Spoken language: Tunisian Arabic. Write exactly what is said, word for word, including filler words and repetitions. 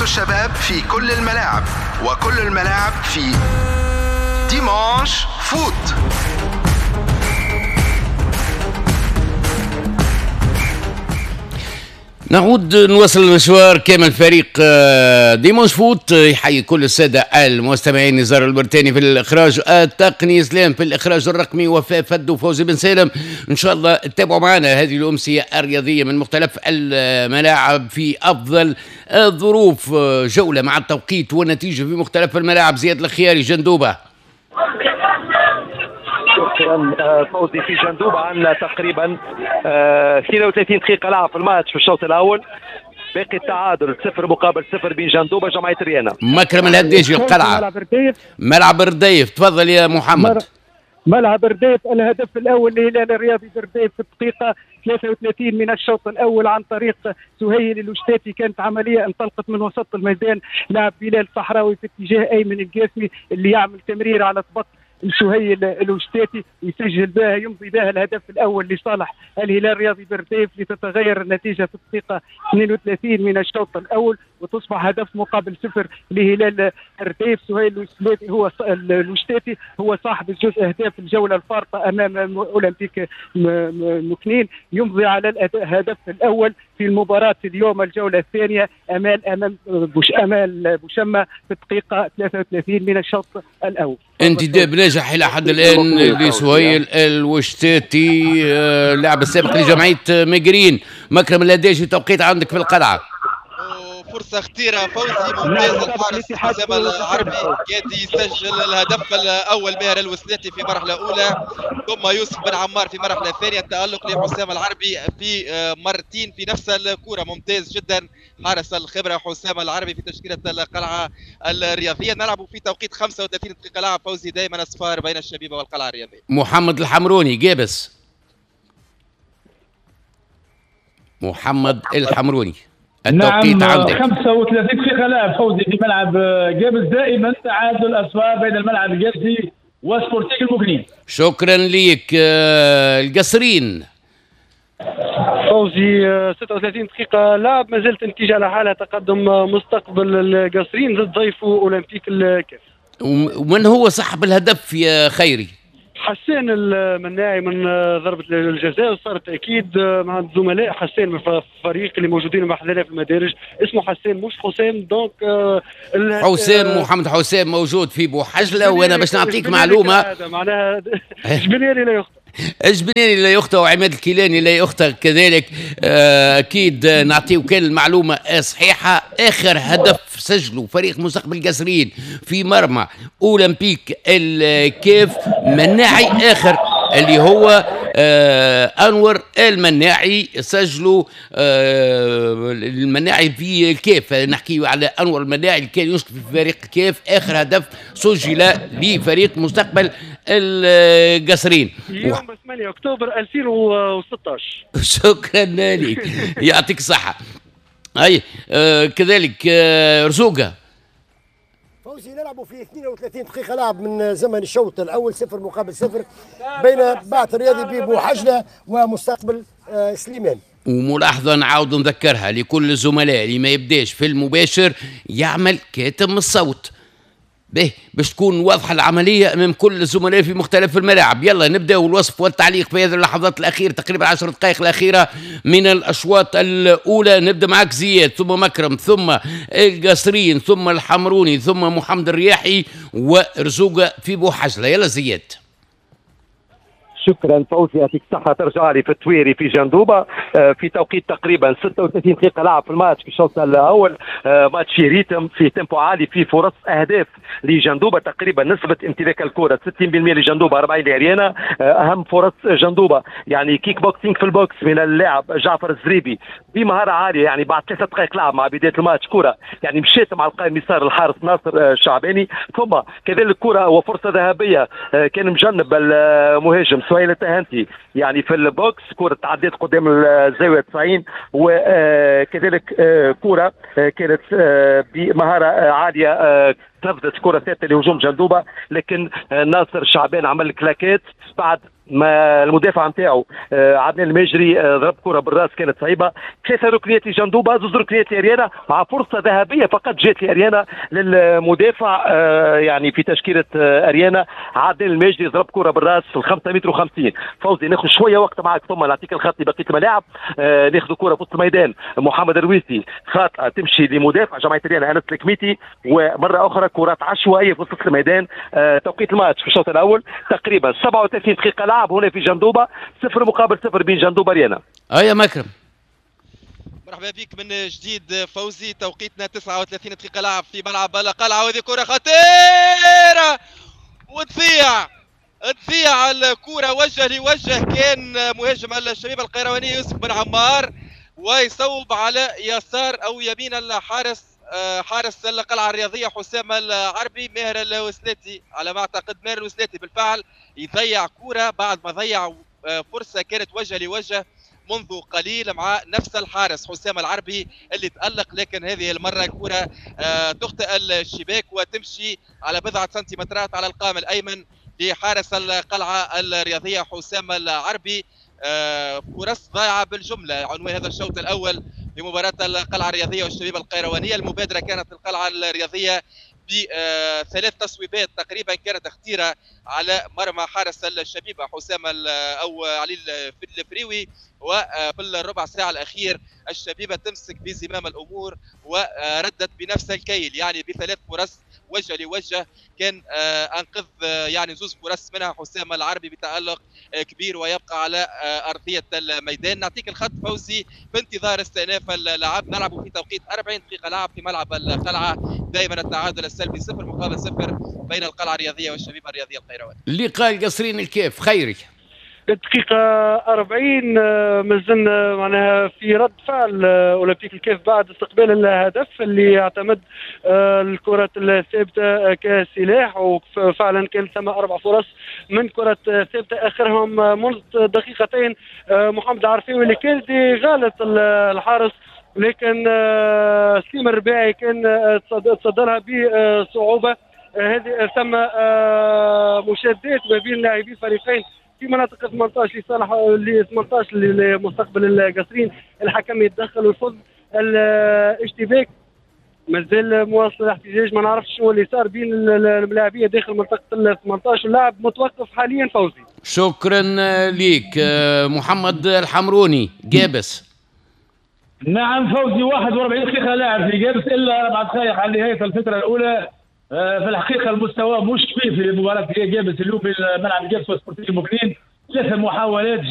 متعة الشباب في كل الملاعب، وكل الملاعب في Dimanche Foot. نعود نواصل المشوار كامل فريق Dimanche Foot. يحيي كل السادة المستمعين، نزار البرتاني في الإخراج التقني، سلام في الإخراج الرقمي، وفاء فد وفوزي بن سالم. إن شاء الله تتابعوا معنا هذه الأمسية الرياضية من مختلف الملاعب في أفضل الظروف، جولة مع التوقيت والنتيجة في مختلف الملاعب. زياد الخياري، جندوبة. شكرا فوزي. في جندوبة عندنا تقريبا اثنين وثلاثين دقيقة لعب في الماتش في الشوط الأول، باقي التعادل صفر مقابل صفر بين جندوبة جمعية ريانا. مكرم الهداجي القلعة، ملعب الرديف. ملعب الرديف، تفضل يا محمد. ملعب الرديف، الهدف الأول لهلال الرياضي بالرديف في الدقيقة ثلاثة وثلاثين من الشوط الأول عن طريق سهيل الوشتاتي. كانت عملية انطلقت من وسط الميدان، لاعب بلال صحراوي في اتجاه أيمن القاسمي اللي يعمل تمرير على طبق سهيل الوشتاتي يسجل بها، يمضي بها الهدف الاول لصالح الهلال الرياضي بالرديف، لتتغير النتيجة في الدقيقة اثنين وثلاثين من الشوط الاول وتصبح هدف مقابل صفر لهلال الرديف. سهيل الوشتاتي هو الوشتاتي هو صاحب الجزء اهداف الجولة الفارطه امام اولمبيك مكنين، يمضي على الهدف الاول في المباراة اليوم الجولة الثانية امام امام بوش امال بوشمه في الدقيقة ثلاثة وثلاثين من الشوط الاول. انتداب ناجح الى حد الان لسهيل الوشتاتي، اللاعب السابق لجمعية مجرين. مكرم الهداجي، توقيت عندك في القلعة. فرصة خطيرة فوزي، ممتاز الحارس حسام العربي كاد يسجل الهدف الأول ماهر الوسلاتي في مرحلة أولى، ثم يوسف بن عمار في مرحلة ثانية. التألق لحسام العربي في مرتين في نفس الكرة، ممتاز جدا حارس الخبرة حسام العربي في تشكيلة القلعة الرياضية. نلعب في توقيت خمسة وثلاثين دقيقة لعب فوزي، دائما أصفار بين الشبيبة والقلعة الرياضية. محمد الحمروني جابس، محمد الحمروني التوقيت نعم عندك. خمسة وثلاثين دقيقة لعب فوزي في ملعب جابس، دائما تعادل أصفار بين الملعب الجابسي وسبورتيك المكنين. شكرا ليك. القصرين فوزي، ستة وثلاثين دقيقة لعب، ما زالت النتيجة على حالها، تقدم مستقبل القصرين ضد ضيفه أولمبيك الكاف. ومن هو صاحب الهدف يا خيري؟ حسان المناعي من ضربة الجزاء، صار تأكيد مع الزملاء حسان من الفريق اللي موجودين مع حذانا في المدارج، اسمه حسان مش حسام. donc حسام، محمد حسام موجود في بوحجلة، وانا باش نعطيك معلومة معناها جبنياني لا يخطئ، جبنياني لا يخطئ وعماد الكيلاني لا يخطئ كذلك. اكيد نعطيو كان المعلومة صحيحه. اخر هدف سجله فريق مستقبل القصرين في مرمى اولمبيك الكاف مناعي اخر اللي هو آه انور المناعي، سجلوا آه المناعي في الكاف. نحكي على انور المناعي اللي كان ينشط في فريق الكاف، اخر هدف سجل لفريق مستقبل القصرين يوم ثمانية اكتوبر ألفين وستة عشر. شكرا لك، يعطيك الصحة. اي آه كذلك آه رزوقه فوزي، نلعبوا في اثنين وثلاثين دقيقة لعب من زمن الشوط الأول، صفر مقابل صفر بين بعث الرياضي ببوحجلة ومستقبل سليمان. وملاحظة نعاود نذكرها لكل الزملاء، اللي ما يبداش في المباشر يعمل كاتم الصوت به باش تكون واضحة العملية أمام كل الزملاء في مختلف الملاعب. يلا نبدأ الوصف والتعليق في هذه اللحظات الأخيرة، تقريبا عشر دقائق الأخيرة من الأشواط الأولى. نبدأ معك زياد، ثم مكرم، ثم القصرين، ثم الحمروني، ثم محمد الرياحي ورزوقة في بوحجلة. يلا زياد. شكرا فوزي، يعطيك الصحة. ترجع لي في التويري في جندوبة في توقيت تقريبا ستة وثلاثين دقيقة لعب في الماتش في الشوط الأول. ماتش في rythme، في tempo عالي، في فرص أهداف لجندوبة، تقريبا نسبة امتلاك الكرة ستين بالمئة لجندوبة، أربعين لأريانا. أهم فرص جندوبة يعني kick boxing في ال box من اللاعب جعفر الزريبي بمهارة عالية، يعني بعد ثلاث دقائق لعب مع بداية الماتش كرة يعني مشيت مع القائم يسار الحارس ناصر الشعباني. ثم كذلك كرة وفرصة ذهبية كان مجنب المهاجم سهيل التهانتي يعني في ال box، كرة تعديت قدام الزاوية تسعين، وكذلك كرة كانت بمهارة عالية تنفذت كره ثابتة لهجوم جندوبه، لكن ناصر شعبان عمل claquette بعد ما المدافع نتاعو عدنان الماجري ضرب كره بالراس كانت صعيبة. ثلاثة ركنيات لجندوبه، زوج ركنيات لاريانا مع فرصة ذهبية فقط جات لاريانا للمدافع يعني في تشكيله اريانا عدنان الماجري ضرب كره بالراس في الخمسة متر وخمسين. فوزي ناخذ شوية وقت معك ثم نعطيك الخط لبقية الملاعب. ناخذ كره في وسط الميدان، محمد الرويسي خاطئه تمشي لمدافع جمعية اريانا انس الكميتي، ومرة اخرى كرات عشوائية في وسط الميدان. توقيت الماتش في الشوط الاول تقريبا سبعة وثلاثين دقيقة لعب هنا في جندوبه، صفر مقابل صفر بين جندوبه اريانا. هيا مكرم، مرحبا بك من جديد فوزي. توقيتنا تسعة وثلاثين دقيقة لعب في ملعب القلعة، وهذه كرة خطيرة وتضيع تضيع الكرة وجه لوجه، كان مهاجم الشبيبة القيروانية يوسف بن عمار ويصوب على يسار أو يمين الحارس حارس القلعة الرياضية حسام العربي. ماهر الوسلاتي على ما أعتقد، ماهر الوسلاتي بالفعل يضيع كرة بعد ما ضيع فرصة كانت وجه لوجه منذ قليل مع نفس الحارس حسام العربي اللي تألق، لكن هذه المرة كرة تخطئ الشباك وتمشي على بضعة سنتيمترات على القائم الأيمن لحارس القلعة الرياضية حسام العربي. فرص ضايعة بالجملة عنوان هذا الشوط الأول لمباراة القلعة الرياضية والشبيبة القيروانية. المبادرة كانت القلعة الرياضية بثلاث تصويبات تقريبا كانت خطيرة على مرمى حارس الشبيبة حسام أو علي الفريوي، وفي الربع ساعة الأخير الشبيبة تمسك بزمام الأمور وردت بنفس الكيل، يعني بثلاث فرص وجه لوجه كان أنقذ يعني زوز فرص منها حسام العربي بتألق كبير ويبقى على أرضية الميدان. نعطيك الخط فوزي بانتظار استئناف اللعب، نلعب في توقيت أربعين دقيقة لعب في ملعب القلعة، دائما التعادل السلبي صفر مقابل صفر بين القلعة الرياضية والشبيبة الرياضية القيروانية. لقاء القصرين الكيف خيري الدقيقة أربعين مازلنا معناها في رد فعل أولمبيك الكاف بعد استقبال الهدف اللي اعتمد الكرة الثابتة كسلاح، وفعلا كان ثم أربع فرص من كرة ثابتة آخرهم منذ دقيقتين محمد العرفاوي اللي كان غالط الحارس، لكن سليم الرباعي كان تصدرها بصعوبة. هذه ثم مشادات ما بين لاعبي فريقين في مناطق ثمانية عشر لصالح ل ثمانية عشر لمستقبل القصرين، الحكم يتدخل ويفض الاشتباك. مازال مواصل الاحتجاج، ما نعرفش شنو اللي صار بين الملاعبيه داخل منطقة ال ثمانية عشر، اللاعب متوقف حاليا فوزي. شكرا ليك محمد الحمروني جابس. نعم فوزي، واحد وأربعين دقيقة لاعب في جابس الا اربع دقائق على نهاية الفترة الاولى. في الحقيقة المستوى مش كبير في مباراة جابس اليوم في ملعب جابس وسبورتيف مكنين، ثلاث محاولات